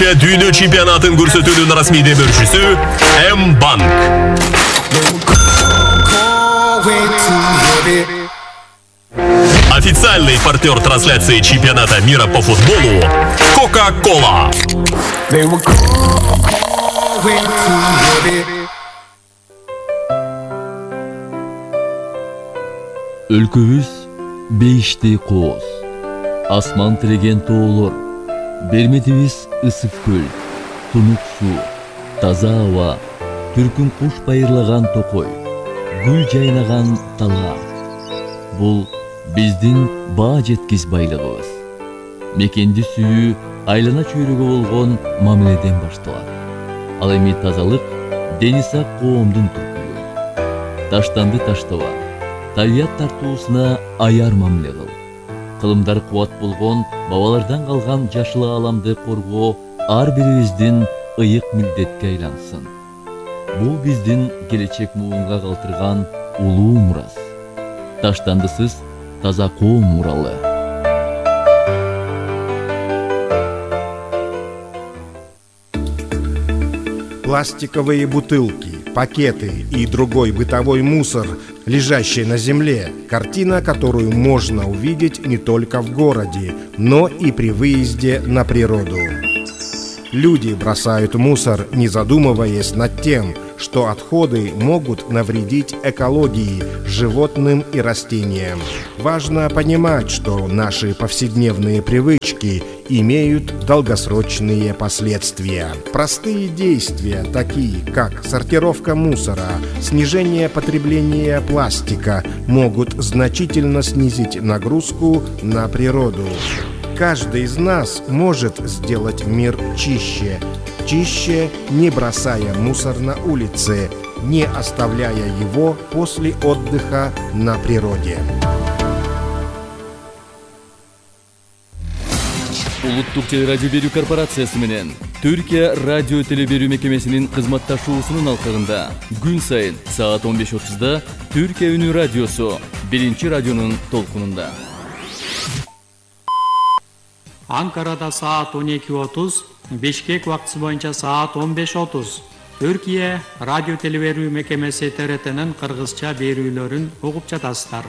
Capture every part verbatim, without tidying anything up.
Түркия дүйнө чемпионатын көрсөтүүнүн расмий демөөрчүсү М-банк. Официальный партнер трансляции чемпионата мира по футболу Кока-Кола. Өлкөбүз бейиштей кооз, асман тиреген тоолор, берметибиз ысык көл, тунук суу, таза аба, түркүн куш байырлаган токой, гүл жайнаган талаа. Бул биздин баа жеткис байлыгыбыз. Мекенди сүйүү айлана чөйрөгө болгон мамиледен башталат. Ал эми тазалык дени сак коомдун түркүлүгү. Таштанды таштаба, табият тартуусуна аяр мамиле кыл. Кылымдар кубат болгон бабалардан калган жашыл ааламды коргоо ар бирибиздин ыйык милдетке айлансын. Бул биздин келечек муунга калтырган улуу мурас. Таштандысыз таза коом муралы. Пластиковые бутылки, пакеты и другой бытовой мусор, лежащий на земле, картина, которую можно увидеть не только в городе, но и при выезде на природу. Люди бросают мусор, не задумываясь над тем, что отходы могут навредить экологии, животным и растениям. Важно понимать, что наши повседневные привычки имеют долгосрочные последствия. Простые действия, такие как сортировка мусора, снижение потребления пластика, могут значительно снизить нагрузку на природу. Каждый из нас может сделать мир чище. Чище, не бросая мусор на улице, не оставляя его после отдыха на природе. Улуттук телерадио берүү корпорациясы менен Түркия радио телеберүү мекемесинин кызматташуусунун алкагында күн сайын саат он беш отузда Түркия үнү радиосу биринчи радионун толкунунда. Анкарада саат он эки отуз, Бишкек убактысы боюнча саат он беш отуз. Түркия радио телеберүү мекемеси Т Р Т'нин кыргызча берүүлөрүн угуп жатасыздар.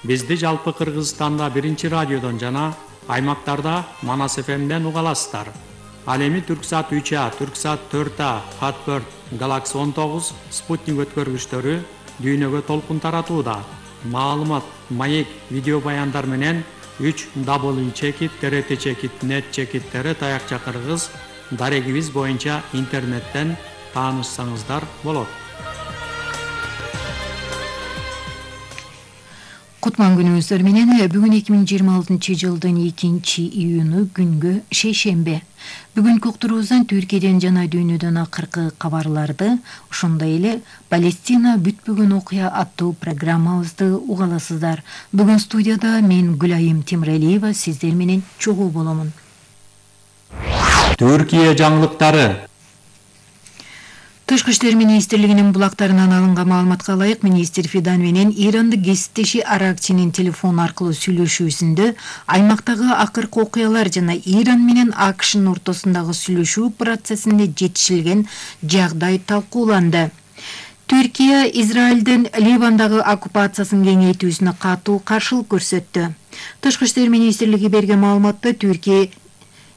Бизди жалпы Кыргызстанда биринчи радиодон жана аймактарда Манас эф эмден уга аласыздар. Ал эми Түрксат үч А, Түрксат төрт А, Хатберт, Галакси он тогуз, Спутник өткөргүчтөрү дүйнөгө толкун таратууда. Маалымат, маек, видео баяндар менен үч дабл ю чекит, Т Р Т чекит, нет чекит, Т Р таякча кыргыз дарегибиз боюнча интернеттен таанышсаңыздар болот. Кутман күнүңүздөр менен бүгүн эки миң жыйырма алтынчы жылдын экинчи июнү күнгө шейшембе. Бүгүнкү уктуруубуздан Түркияден жана дүйнөдөн акыркы кабарларды, ошондой эле Палестина бүтпөгөн окуя аттуу программабызды угаласыздар. Бүгүн студияда мен Гүлайым Тимрелиева сиздер менен чогуу боломун. Түркия жаңылыктары. Тышкы иштер министрлигинин булактарынан алынган маалыматка ылайык, министр Фидан менен ирандык кесиптеши Аракчинин телефон аркылуу сүйлөшүүсүндө аймактагы акыркы окуялар жана Иран менен А К Шнын ортосундагы сүйлөшүү процессинде жетишилген жагдай талкууланды. Түркия Израилдин Ливандагы оккупациясын кеңейтүүсүнө катуу каршылык көрсөттү. Тышкы иштер министрлиги берген маалыматта Түркия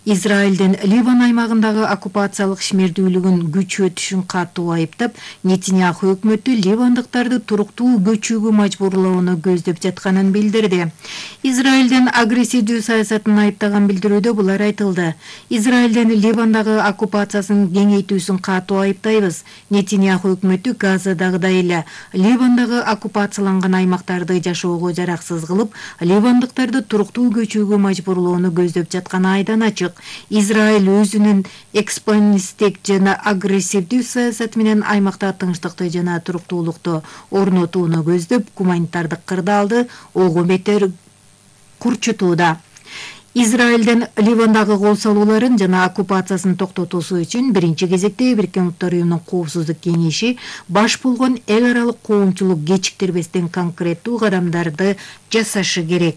Израилдин Ливан аймагындагы оккупациялык ишмердүүлүгүн күчөтүшүн катуу айыптап, Нетиньяху өкмөтү ливандыктарды туруктуу көчүүгө мажбурлоону көздөп жатканын билдирди. Израилдин агрессивдүү саясатын айыптаган билдирүүдө булар айтылды. Израилдин Ливандагы оккупациясын кеңейтүүсүн катуу айыптайбыз. Нетиньяху өкмөтү Газадагыдай эле Ливандагы оккупацияланган аймактарды жашоого жараксыз кылып, ливандыктарды туруктуу көчүүгө мажбурлоону көздөп жатканы айдан ачык. Израиль өзүнүн экспансивдик жана агрессивдүү саясаты менен аймакта тынчтыкты жана туруктуулукту орнотууну көздөп, гуманитардык кырдаалды ого бетер курчутууда. Израилдин Ливандагы кол салууларын жана оккупациясын токтотуусу үчүн биринчи кезекте Бириккен Уттар Уюмунун Коопсуздук Кеңеши баш болгон эл аралык коомчулук кечиктирбестен конкреттүү кадамдарды жасашы керек.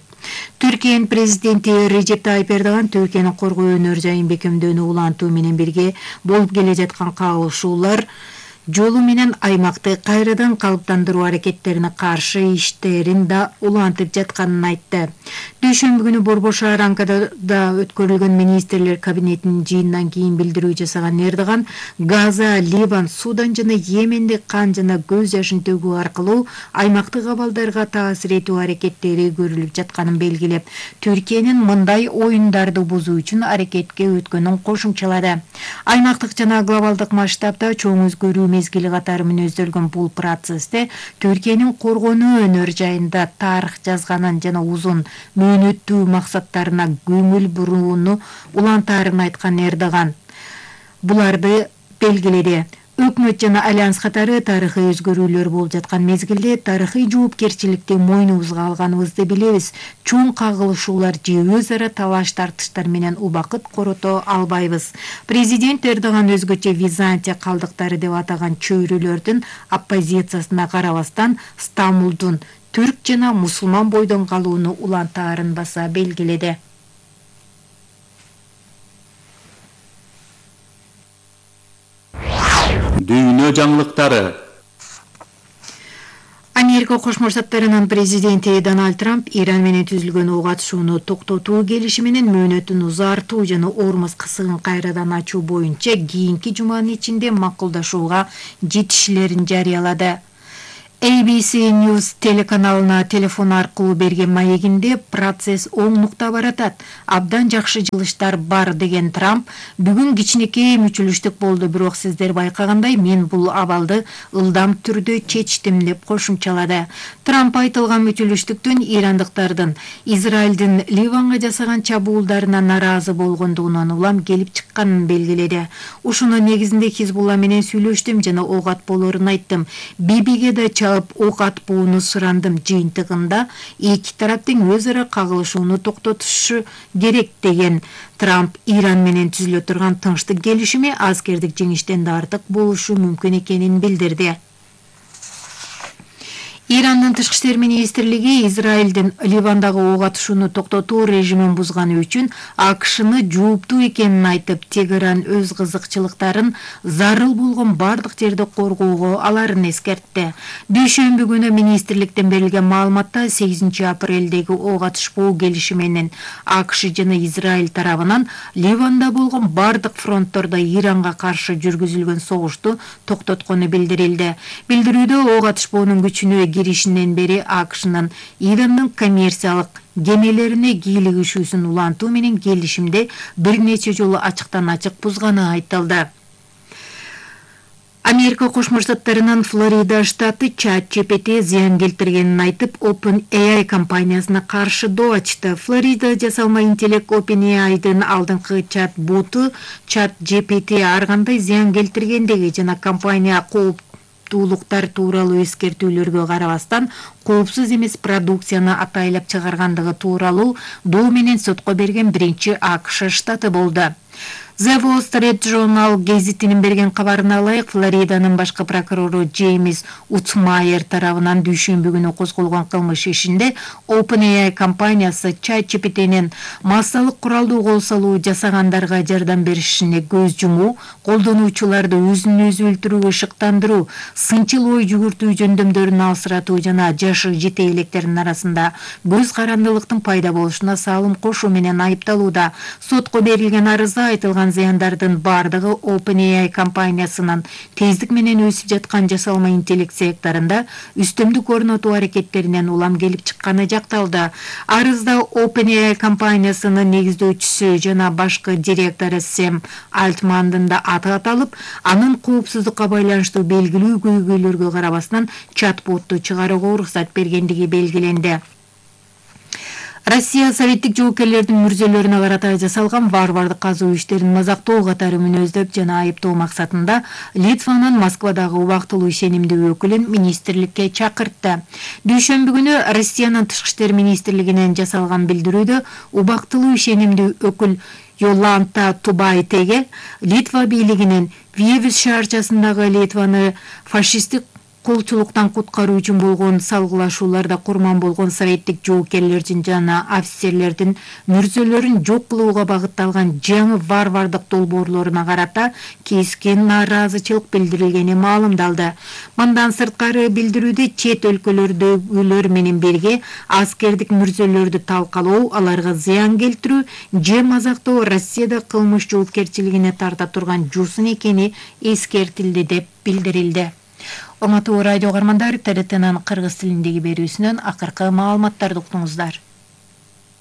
Түркиянын президенти Режеп Тайип Эрдоган Түркиянын коргоо өнөр жайын бекемдөөнү улантуу менен бирге болуп келе жаткан кагылышуулар жолу менен аймакты кайрадан калыптандыруу аракеттерине каршы иштерин да улантып жатканын айтты. Дүйшөмбү күнү Борбор шаар Анкарада өткөрүлгөн министрлер кабинетинин жыйынынан кийин билдирүү жасаган Эрдоган Газа, Ливан, Судан жана Йеменде кан жана көз жашын төгүү аркылуу аймактык абалдарга таасир этүү аракеттери көрүлүп жатканын белгилеп, Түркиянын мындай оюндарды бузуу үчүн аракетке өткөнүн кошумчалады. Аймактык жана глобалдык масштабта чоң өзгөрүү мезгили катары мүнөздөлгөн бул процессте Түркиянын коргонуу өнөр жайында тарых жазганын жана узун мөөнөттүү максаттарына көңүл бурууну улантаарын айткан Эрдоган буларды белгиледи. Өкмөт жана альянс катары тарыхый өзгөрүүлөр болуп жаткан мезгилде тарыхый жоопкерчиликти мойнубузга алганыбызды билебиз. Чоң кагылышуулар же өз ара талаш тартыштар менен убакыт корото албайбыз. Президент Эрдоган өзгөчө Византия калдыктары деп атаган чөйрөлөрдүн оппозициясына карабастан Стамбулдун түрк жана мусулман бойдон калууну улантаарын баса белгиледи. Дүйнө жаңылыктары. Америка Кошмо Штаттарынын президенти Дональд Трамп Иран менен түзүлгөн ок атышууну токтотуу келишими менен мөөнөтүн узартуу жана Ормуз кысыгын кайрадан ачуу боюнча кийинки жуманын ичинде макулдашууга жетишилерин жарыялады. A B C News телеканалына телефон аркылуу берген маегинде процесс оңдукта баратат. Абдан жакшы жылыштар бар деген Трамп бүгүн кичинекей мүчүлүштүк болду, бирок сиздер байкагандай мен бул абалды ылдам түрдө чечтим деп кошумчалады. Трамп айтылган мүчүлүштүктүн ирандыктардын Израилдин Ливанга жасаган чабуулдарына наразы болгондугунан улам келип чыкканын белгиледи. Ушунун негизинде Хизбулла менен сүйлөштүм жана ок атпоолорун айттым. Бибиге да ок атпоону сурандым. Жыйынтыгында эки тараптын өз ара кагылышууну токтотушу керек деген Трамп Иран менен түзүлө турган тынчтык келишими аскердик жеңиштен да артык болушу мүмкүн экенин билдирди. Ирандын тышкы иштер министрлиги Израилдин Ливандагы ок атышууну токтотуу режимин бузганы үчүн АКШны жооптуу экенин айтып, Тегеран өз кызыкчылыктарын зарыл болгон бардык жерде коргоого аларын эскертти. Дүйшөмбү күнү министрликтен берилген маалыматта сегизинчи апрелдеги ок атышпоо келишими менен АКШ жана Израиль тарабынан Ливанда болгон бардык фронттордо Иранга каршы жүргүзүлгөн согушту токтоткону билдирилди. Билдирүүдө ок атышпоонун күчүнө киришинен бери АКШнын Ирандын коммерциялык кемелерине кийлик ишүүсүн улантуу менен келишимде бир нече жолу ачыктан ачык бузганы айтылды. Америка Кошмо Штаттарынын Флорида штаты чат джи пи ти зыян келтиргенин айтып, OpenAI компаниясына каршы доо ачты. Флорида жасалма интеллект OpenAI'дын алдыңкы чат боту чат джи пи ти ар кандай зыян келтиргендиги жана компания кооп туулуктар тууралуу эскертүүлөргө карабастан коопсуз эмес продукцияны атайлап чыгаргандыгы тууралуу доо менен сотко берген биринчи АКШ штаты болду. The Wall Street Journal гезитинин берген кабарына ылайык, Флориданын башкы прокурору Джеймс Утмайер тарабынан дүйшөмбү күнү козголгон кылмыш ишинде OpenAI компаниясы чат джи пи тинин массалык куралдуу кол салуу жасагандарга жардам беришине көз жумуу, колдонуучуларды өзүн өзү өлтүрүүгө шыктандыруу, сынчыл ой жүгүртүү жөндөмдөрүн алсыратуу жана жашы жете электердин арасында көз карандылыктын пайда болушуна салым кошуу менен айыпталууда. Сотко берилген арызда айтылган зыяндардын бардыгы OpenAI компаниясынын тездик менен өсүп жаткан жасалма интеллект секторунда үстөмдүк орнотуу аракеттеринен улам келип чыкканы жакталды. Арызда OpenAI компаниясынын негиздөөчүсү жана башкы директору Сэм Альтмандын да аты аталып, анын коопсуздукка байланыштуу белгилүү көйгөйлөргө карабастан чат-ботту чыгарууга уруксат бергендиги белгиленди. Россия советтик жоокерлердин мүрзөлөрүнө карата жасалган варвардык казуу иштерин мазактоо катары мүнөздөп жана айыптоо максатында Литванын Москвадагы убактылуу ишенимдүү өкүлүн министрликке чакыртты. Дүйшөмбү күнү Россиянын тышкы иштер министрлигинен жасалган билдирүүдө убактылуу ишенимдүү өкүл Йоланта Тубайтеге Литва бийлигинин Виевис шаарчасындагы Литваны фашисттик колчулуктан куткаруу үчүн болгон салгылашууларда курман болгон советтик жоокерлердин жана офицерлердин мүрзөлөрүн жок кылууга багытталган жаңы варвардык долбоорлоруна карата кескен нааразычылык билдирилгени маалымдалды. Мындан сырткары билдирүүдө чет өлкөлөрдөгүлөр менен бирге аскердик мүрзөлөрдү талкалоо, аларга зыян келтирүү же мазактоо Россияда кылмыш жоопкерчилигине тарта турган жусын экени эскертилди деп билдирилди. Урматтуу радио каармандар, ТРТнын кыргыз тилиндеги берүүсүнөн акыркы маалыматтарды уктуңуздар.